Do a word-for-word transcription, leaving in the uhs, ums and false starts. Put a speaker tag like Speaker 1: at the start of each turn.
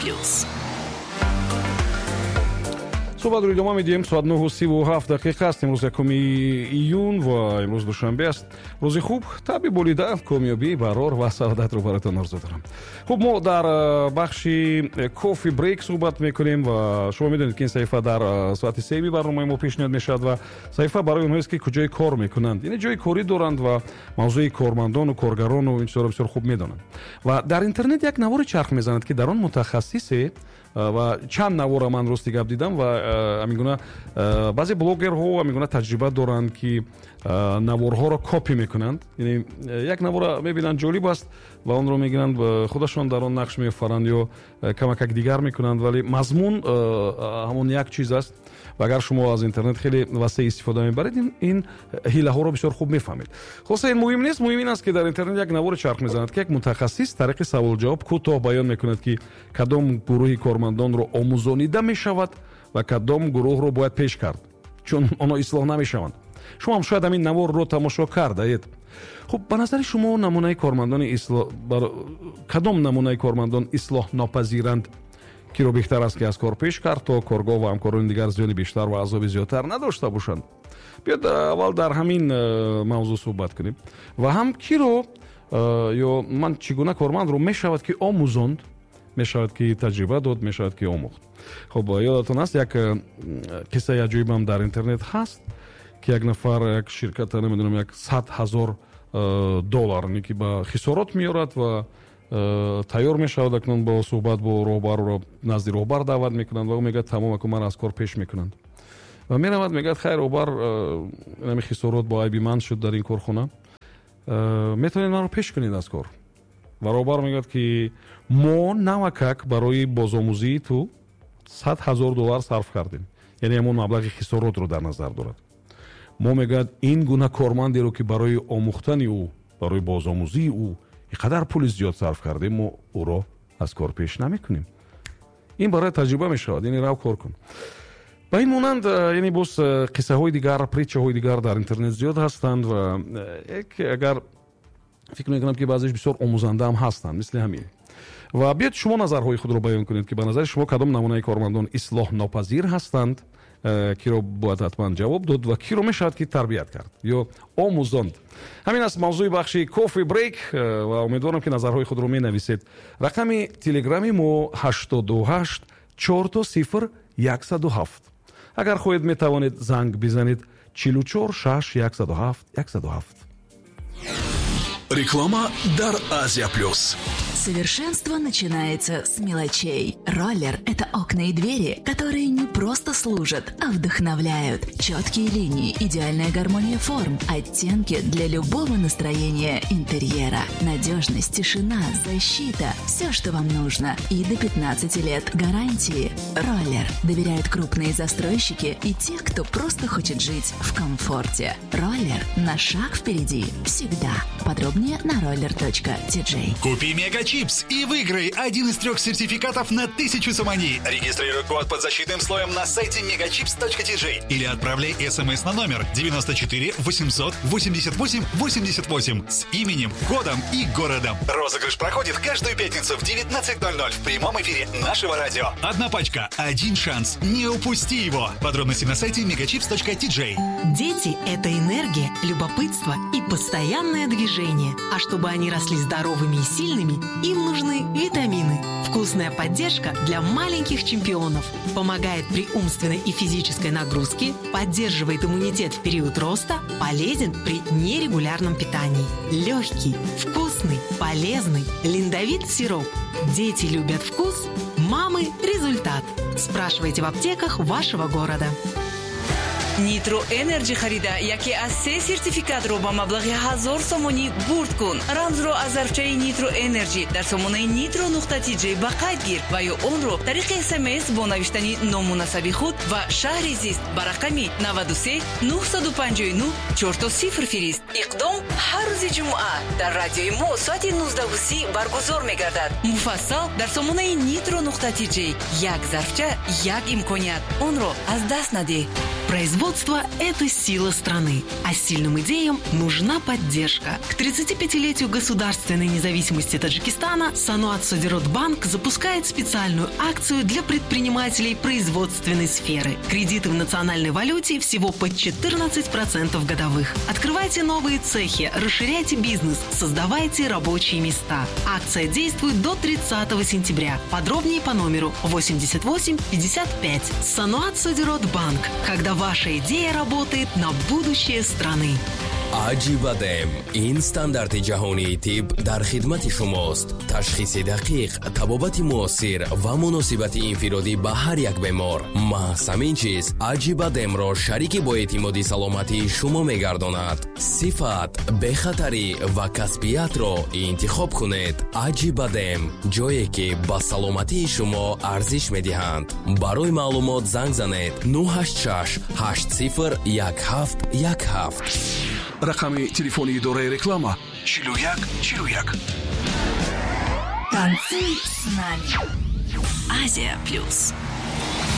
Speaker 1: Плюс.
Speaker 2: Суҳбатро идома медиҳем. Соат нӯҳу сиву ҳафт дақиқа аст. Имрӯз якуми июн ва имрӯз душанбе аст. Рӯзи хуб, табъи болида, комёбӣ, барор ва саодатро бароятон орзу дорам. Хуб, мо дар э, бахши Кофи Брейк суҳбат мекунем ва шумо медонед, ки ин саҳифа дар э, соати сеюми барномаи мо пешниҳод мешавад ва саҳифа барои онҳоест, ки куҷои кор мекунанд, яъне ҷои корӣ доранд ва мавзӯи кормандону коргарону ин чизҳоро бисёр хуб медонанд. Ва дар интернет як навори чарх мезанад, ки дар он мутахассисе, ва чанд навора ман, рости гап, дидам ва ҳамин гуна баъзе блогерҳо ҳамин гуна таҷриба доранд, ки наворҳоро копи мекунанд, яъне як навора мебинанд, ҷолиб аст, ва онро мегиранд, худашон дар он нақш меофаранд ё камакак дигар мекунанд, вале мазмун ҳамон як чиз аст. Ва агар шумо аз интернет хеле васеъ истифода мебаред, ин ҳилаҳоро бисёр хуб мефаҳмед. Хулоса, ин муҳим нест. Муҳим ин аст, ки дар интернет як навори чарх мезанад, ки як мутахассис тариқи саволҷавоб кӯтоҳ баён мекунад, ки кадом гурӯҳи кормандонро омӯзонида мешавад ва кадом гурӯҳро бояд пеш кард, чун онҳо ислоҳ намешаванд. Шумо ҳам шояд ҳамин наворро тамошо кардаед. Хуб, ба назари шумо намунаи кормандони кадом намунаи кормандон ислоҳ нопазиранд? Киро беҳтар аст, ки аз кор пеш кард, то коргоҳ ва ҳамкорони дигар зиёни бештар ва азоби зиёдтар надошта бошанд? Биёд, аввал дар ҳамин э, мавзӯъ суҳбат кунем ва ҳам киро э, ё ман чӣ гуна кормандро мешавад, ки омӯзонд, мешавад, ки таҷриба дод, мешавад, ки омӯхт. Хуб, ёдатон аст, як э, қиссаи аҷоибам дар интернет ҳаст, ки як нафар як ширката, намедонам, як сад ҳазор доллар ки ба хисорот меорад ва э, тайёр мешавад акнун бо суҳбат бо роҳбарро, назди роҳбар даъват мекунанд ва ӯ мегӯяд: «Тамом, аку ман аз кор пеш мекунанд». Ва меравад, мегӯяд: «Хайр, роҳбар, э, ами хисорот бо айби ман шуд дар ин корхона, э, метавонед маро пеш кунед аз кор?» Ва роҳбар мегӯяд, ки мо навакак барои бозомӯзии ту сад ҳазор доллар сарф кардем, яъне ҳамон маблағи хисоротро дар назар дорад. Мо, мегӯяд, ин гуна кормандеро, ки барои омӯхтани ӯ, барои бозомӯзии ӯ ин қадар пули зиёд сарф кардем, мо ӯро аз кор пеш намекунем. Ин барои таҷриба мешавад, яъне рав, кор кун. Ба ин монанд, яъне боз қиссаҳои дигар, притчаҳои дигар дар интернет зиёд ҳастанд ва агар фикр мекунам, ки баъзеш бисёр омӯзандаам ҳастанд, мисли ҳамин. Ва биёед, шумо назарҳои худро баён кунед, ки ба назари шумо кадом намунаи кормандон ислоҳ нопазир ҳастанд, э, киро бояд ҳатман ҷавоб дод ва киро мешавад, ки тарбият кард ё омӯзонд. Ҳамин аст мавзӯи бахши Кофи Брейк э, ва умедворам, ки назарҳои худро менависед. Рақами телеграми мо ҳаштоду ҳашт чорто сифр яксаду ҳафт. Агар хоҳед, метавонед занг бизанед: чилу чор шаш яксаду ҳафт яксаду ҳафт.
Speaker 3: Реклама дар Азия Плюс.
Speaker 1: Совершенство начинается с мелочей. Роллер – это окна и двери, которые не просто служат, а вдохновляют. Четкие линии, идеальная гармония форм, оттенки для любого настроения интерьера. Надежность, тишина, защита – все, что вам нужно. И до пятнадцати лет гарантии. Роллер. Доверяют крупные застройщики и те, кто просто хочет жить в комфорте. Роллер на шаг впереди. Всегда. Подробнее на roller.tj.
Speaker 3: Купи Мега Чипс и выиграй один из трех сертификатов на тысячу сомони. Регистрируй код под защитным слоем на сайте megachips.tj или отправляй смс на номер девяносто четыре восемьсот восемьдесят восемь восемьдесят восемь с именем, кодом и городом. Розыгрыш проходит каждую пятницу в девятнадцать ноль ноль в прямом эфире нашего радио. Одна пачка, один шанс. Не упусти его. Подробности на сайте megachips.tj.
Speaker 4: Дети – это энергия, любопытство и постоянное движение. А чтобы они росли здоровыми и сильными, им нужны витамины. Вкусная поддержка для маленьких чемпионов. Помогает при умственной и физической нагрузке, поддерживает иммунитет в период роста, полезен при нерегулярном питании. Легкий, вкусный, полезный Линдовит сироп. Дети любят вкус, мамы – результат. Спрашивайте в аптеках вашего города.
Speaker 5: Нитро Энерджи харида, яке аз се сертификатро ба маблағи ҳазор сомонӣ бурд кун. Рамзро аз зарфчаи Нитро Энерджи дар сомонаи нитро нуқта тиҷ ба қайд гир ва ё онро тариқи смс бо навиштани ному насаби худ ва шаҳри зист ба рақами наваду се нӯҳсаду панҷоҳу нӯҳ чорто сифр фирист. Иқдом ҳар рӯзи ҷумъа дар радиои мо соати нуздаҳу си баргузор мегардад. Муфассал дар сомонаи нитро нуқта тиҷ. Як зарфча, як имконият, онро аз даст надеҳ.
Speaker 4: Производство – это сила страны, а сильным идеям нужна поддержка. К тридцатипятилетию государственной независимости Таджикистана Саноат Содиротбанк запускает специальную акцию для предпринимателей производственной сферы. Кредиты в национальной валюте всего под четырнадцать процентов годовых. Открывайте новые цехи, расширяйте бизнес, создавайте рабочие места. Акция действует до тридцатого сентября. Подробнее по номеру восемьдесят восемь пятьдесят пять. Саноат Содиротбанк. Когда ваша идея работает на будущее страны.
Speaker 6: Аҷибадем ин стандарти ҷаҳонии тиб дар хидмати шумост. Ташхиси дақиқ, табобати муосир ва муносибати инфиродӣ ба ҳар як бемор. Маҳз ҳамин чиз Аҷибадемро шарики боэътимоди саломатии шумо мегардонад. Сифат, бехатарӣ ва касбиятро интихоб кунед. Аҷибадем ҷое ки ба саломатии шумо арзиш медиҳанд. Барои маълумот занг занед нӯҳ ҳашт шаш ҳашт сифр як ҳафт як ҳафт.
Speaker 7: Рақами телефони идораи реклама чилу як чилу як.
Speaker 1: Танцуй с нами. Азия плюс.